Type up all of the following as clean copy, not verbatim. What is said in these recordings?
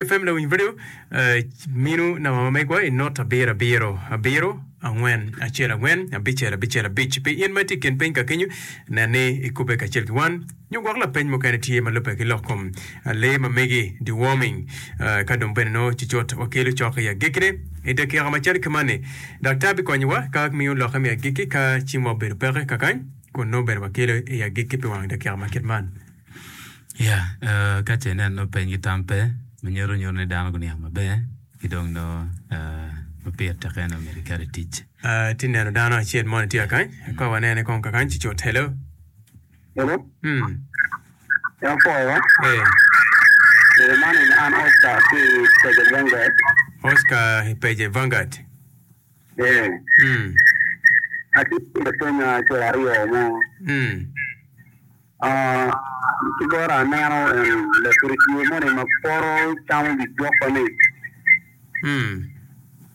FM Lawiny Radio minu namba ma megwa i not abiro abiro abiro angwen acel angwen abicel abicel abic. Pi in ma itye i kin piny ka kenyo, nen ni ikubbe kacel ki wan nyo gwok lapeny mukene tye ma lubbe ki lok kom lee ma megi, deworming. Ka dong bene nongo cucut wakelo cok i agikkine i dakika macalo ki man-ni, daktar bikonyowa ka miyo lokke me agikki ka cimwa obedo peke kakany kun nongo bene wakelo i agikki pi wang dakika ma kit man. Ya, ka ce inen nongo peny ki tam pe, ma nyuto nyuto ni dano guniang maber ki dong nongo ma pire tek en aye myero iket i tic. Atye neno dano acel moni tye kakany, ka wanene kong kakany ci cut. Hello. Hello. Mm. En apwoyo. Eh. Eh, man en an Oscar ki i Pece Vanguard. Oscar i Pece Vanguard. Eh. Mm. Atye ki lapeny acel aryo mo. Mm. Ki bota aneno en lapur tye moni ma poto camo gigwoko ni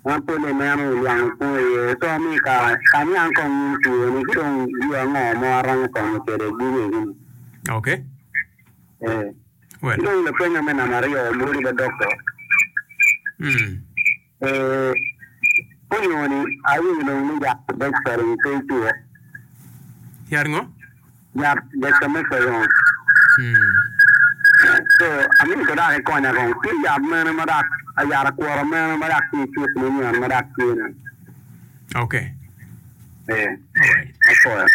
en pole ineno lwango pur iye co mi ka aniang kong nying two ni ki dong yo ango ma waromo konyo kwede gudo eni Okay. Eh. Well. Ki dong lapenya me namba aryo lwodi ba dokto. Eh, onyo ni awinyo dong ni yat dexterine pe icwo. Yat ngo? Yat dexamethasone. So, amito dok ikonya kong. Tye yat mene ma dok, yat akwota mene ma dok tye i cuk manyen ma dok tye ni? Okay. Eh, Alright. apwoyo.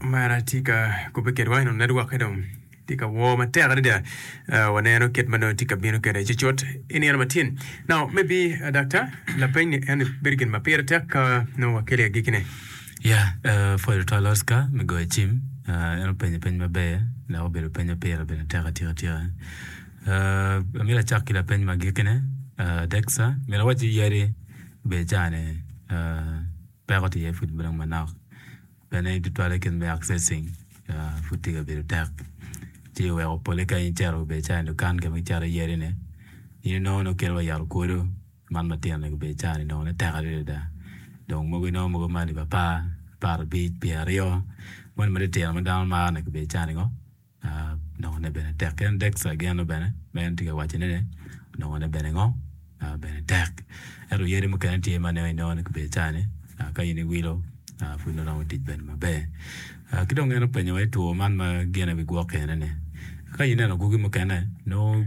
Omera tye ka kubbe kedwa eno network-ke dong. Tye ka wor matek adada. Waneno kit ma nongo tye ka bino kwede cucut i nino matin. Now, maybe, uh, Doctor, lapeny ni en bedo gin ma pire tek ka nongo wakelo i agikkine. Yeah, uh, pwoyo tutwal Oscar me goyo cim. Uh, en openyo peny maber dok obedo peny ma pire bene tek atika tika. Uh, amito acak ki lapeny me agikkine. Uh, Dexa, myero awac ni yadi ber caa-ni uh, peko tye iye pud dong manok. Bene tutwalle kit me accessing pud tye ka bedo tek ci oweko pole ka in icito obedo calo i dukan ka ma kicato iye yadi ni in inongo ni okelo wa yat okwodo man matino ni gubedo calo ni nongone tek adada dong mogo inongo mogo ma alip apar, aparabic, pyeraryo moni matitino ma dano maro ni gubedo calo ni ngo Nongone bene tek. Ki en Dexter geno bene ma en tye ka wacone ni nongone bene ngo? Bene tek. Ento yadi mukene tye ma nongo inongo ni gubedo cani ka in iwilo pud nongo romo tic bene maber. Ki dong en openyo wa i two man ma gine bigwok kene ni ka ineno gwogi mukene nongo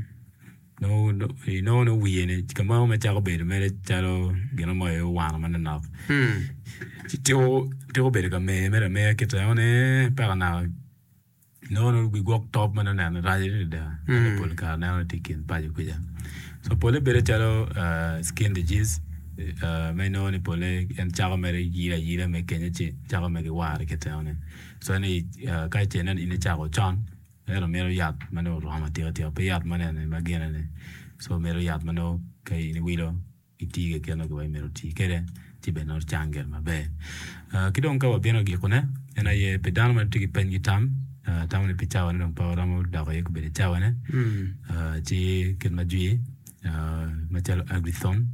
Nongo inongo ni wiye ni ka mo ma cako bedo mere calo gin mo aye owano manonok ci tiko tiko bedo ka mer mere ameya kite eno ni peka naka inongo ni wi gwok top ma nongo neno rac adada ento pol kare neno ni tye i kin paco kuca so pole bedo calo skin disease ma inongo ni pole en cako mere yilo ayila mere kenyo ci cako mere ki ware kite eno ni so ni ka ce inen in icako con Ento mito yat ma nongo oromo atika tika pe yat ma nene ma gine ni so mito yat ma nongo ka in iwilo iti keken nongo kiwaci myero oti kwede ci bene nongo cang gire maber. Ki dong ka wabino gikone en aye pi dano ma tye ki peny ki tam atamo ni pi cawane dong pe waromo dok iye gubedo cawane ci kit ma jwi macalo Agrithon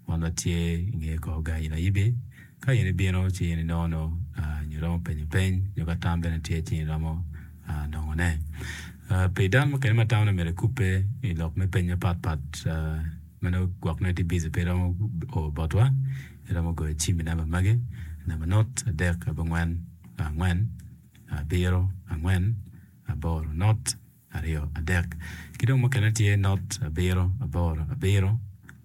Wan watye i nge kor gang in ayibi. Ka in ibino ci in inongo nongo nyo iromo penyo peny nyo ka tam bene tye ci in iromo nongone. Pi dano mukene ma tamo ni myero ekubbe i lok me peny mapat pat ma nongo gwok nongo itye bici pe iromo o botwa iromo goyo cim i namba magi namba not adek abongwen angwen abiro angwen aboro not aryo, adek, ki dong mukene tye not abiro, aboro, abiro,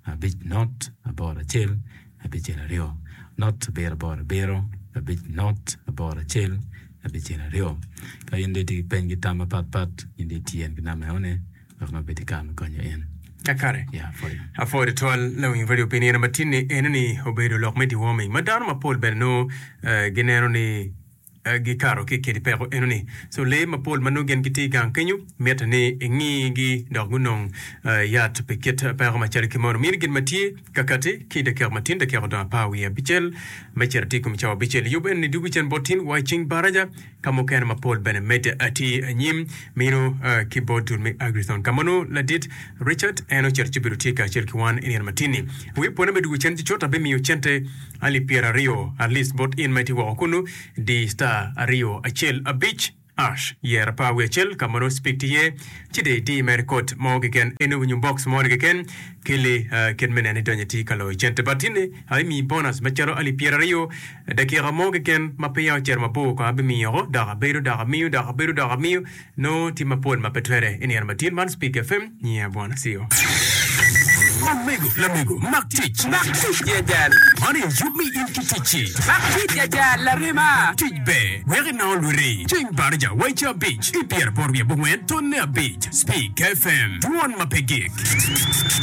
abic, not aboro, acel, abicel, aryo, not abiro, aboro, abiro, abic, not aboro, acel, abicel, aryo. Ka in dong itye ki peny ki tam mapat pat, in dong itye ki namba enoni wek nongo obed ki kare me konyo in. Kakare. Ya, apwoyo. Apwoyo tutwal lawiny radio pi nino matin-ni. Enoni obedo lok me deworming ma dano mapol bene nongo gineno ni gikato ki i kidi peko enoni. So lee mapol ma nongo gin gitye i gang kenyo mitte ni ingigi dok gunong yat pi kit peko macalo ki meno. Mini gin ma tye ka kati ki i dakika matin dakika odong apar wiye abicel me cito atir i kom cawa abicel. Yub enoni dugo cen bot tin wa i ceng baraja ka mukene mapol bene medde atir anyim mino ki bot dul me Agrithon ka ma nongo ladit Richard en ocito ci obedo tye kacel ki wan i nino matin-ni. Wiye pwone me dugo cen ci cut abimiyo cente Alip pyeraryo at least bot in ma itye woko kunu, di star aryo acel abic. Ash, yer 11 ka ma nongo speak tye iye, ci dong iti mere kod mo keken, eno winyo box mo ni keken, keli kit me neno idonyo iti ka loyo cente. But tinni abimiyi bonus macalo alip 20 dakika mo keken ma peya ocito mabor kong abimiyo oko, dok abedo dok amiyo dok abedo dok amiyo. Nongo tye mapol ma pe twere i nino matin man Speak FM nyinga Bwana Cio. Omego, lamego, mak tic. Mak tic ya jal. Man aye yub me in ki ticci. Mak tic ya jal, larema. Tic ber, wek inongo lwiti. Ceng baraja wa i ca abic ki pyeraboro wiye abongwen tonne abic. Speak FM, dwon ma pe gik.